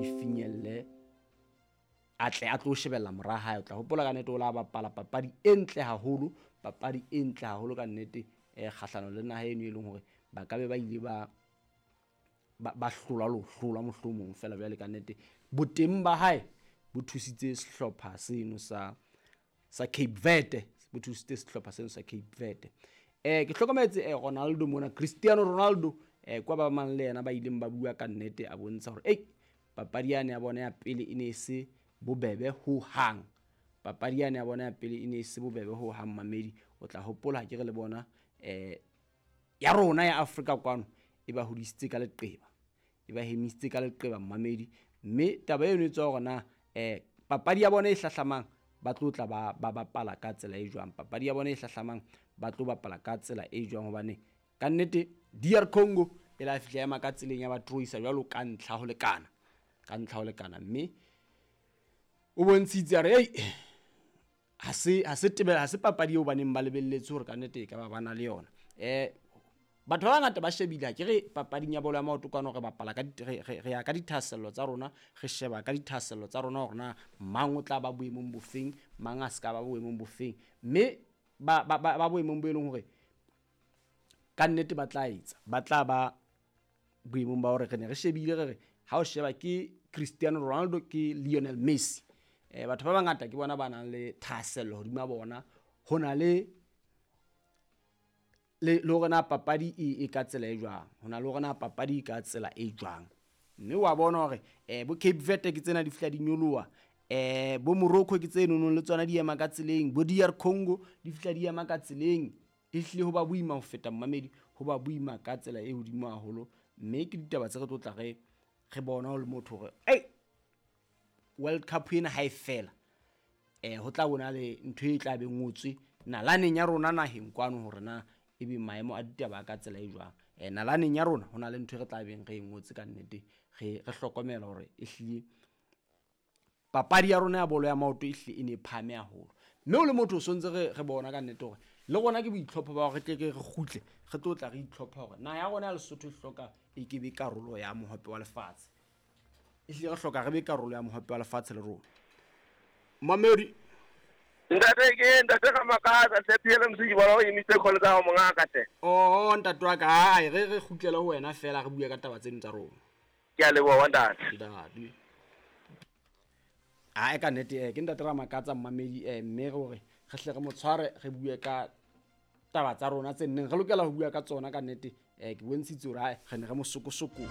finyelle, a tle a tlo shebella mora hae. O tla hopola ka nnete o la bapala papadi e ntle haholo, papadi e ntle haholo ka nnete, kgahlano le naha eno e leng hore ba ka be ba ile ba ba hlolwa le ho hlolwa mohlomong fela. Jwale ka nnete boteng ba hae bo thusitse sehlopha seno sa Cape Verde, bo thusitse sehlopha seno sa Cape Verde. Ke hlokometse Ronaldo mona, Cristiano Ronaldo, kwa ba mang le yena ba ileng ba bua ka nnete, a bontsha hore ei, papadi yane ya bona ya pele e ne e se bobebe ho hang. Papadi yane ya bona ya pele e ne e se bobebe ho hang, mamedi. O tla hopola ha ke re le bona ya rona ya Afrika kwano e ba hodisitse ka leqeba, e ba hemisitse ka leqeba, mamedi. Mme taba eno e tswa hore na papadi ya bona e hlahlamang ba tlo tla ba bapala ka tsela e jwang, papadi ya bona e hlahlamang ba tlo bapala ka tsela e jwang, hobane ka nnete DR Congo e la fihla ema ka tseleng ya ba troisa jwalo ka ntlha ho lekana, ka ntlha ho lekana. Mme o bontshitse a re ei, ha se tebela, ha se papadi eo baneng ba lebelletse hore ka nnete e ka ba bana le yona. Batho ba bangata ba shebile ha ke re papading ya bolo ya maoto kwano re bapala ka re ya ka dithahasello tsa rona, re sheba ka dithahasello tsa rona hore na mang o tla ba boemong bofeng, mang a se ka ba boemong bofeng. Mme ba boemong bo e leng hore ka nnete ba tla etsa, ba tla ba boemong ba hore re ne re shebile re re ha o sheba ke Cristiano Ronaldo ke Lionel Messi. Batho ba bangata ke bona ba nang le thahasello hodima bona, ho na le hore na papadi e ka tsela e jwang, ho na le hore na papadi e ka tsela e jwang. Mme wa bona hore bo Cape Verde ke tsena di fihla di nyoloha, bo Morocco ke tse nonong le tsona di ema ka tseleng, bo DR Congo di fihla di ema ka tseleng. E hlile ho ba boima ho feta, mmamedi, ho ba boima ka tsela e hodimo haholo. Mme ke ditaba tse re tlo tla re bona ho le motho hore ei, World Cup ena ha e fela, ho tla bona le ntho e tla be ngotswe nalaneng ya rona naheng kwano hore na ebe maemo a ditaba ka tsela e jwang. Nalaneng ya rona ho na le ntho e re tla beng re e ngotse ka nnete, re hlokomela hore e hlile papadi ya rona ya bolo ya maoto e hlile e ne e phahame haholo. Mme o le motho o sontse re bona ka nnete hore le rona ke boitlhopho ba hore re tle re kgutle, re tlo tla re itlhopha hore naha ya rona ya Lesotho e hloka e ke be karolo ya mohope wa lefatshe. E hlile re hloka re be karolo ya mohope wa lefatshe le rona. Mamedi. Ntate ke ntate ka makatsa hle PLMC ke bona o emise call tsa hao mongaka hle. Oh ntate wa ka, ai re kgutlele ho wena fela re bue ka taba tseno tsa rona. Ke a leboha ntate. Ntate. Ai ka nnete ke ntate ra makatsa mmamedi, mme re hore re hle re mo tshware re bue ka taba tsa rona tse nneng re lokela ho bua ka tsona ka nnete. Ke bontshitse hore ai re ne re mo sokosoko.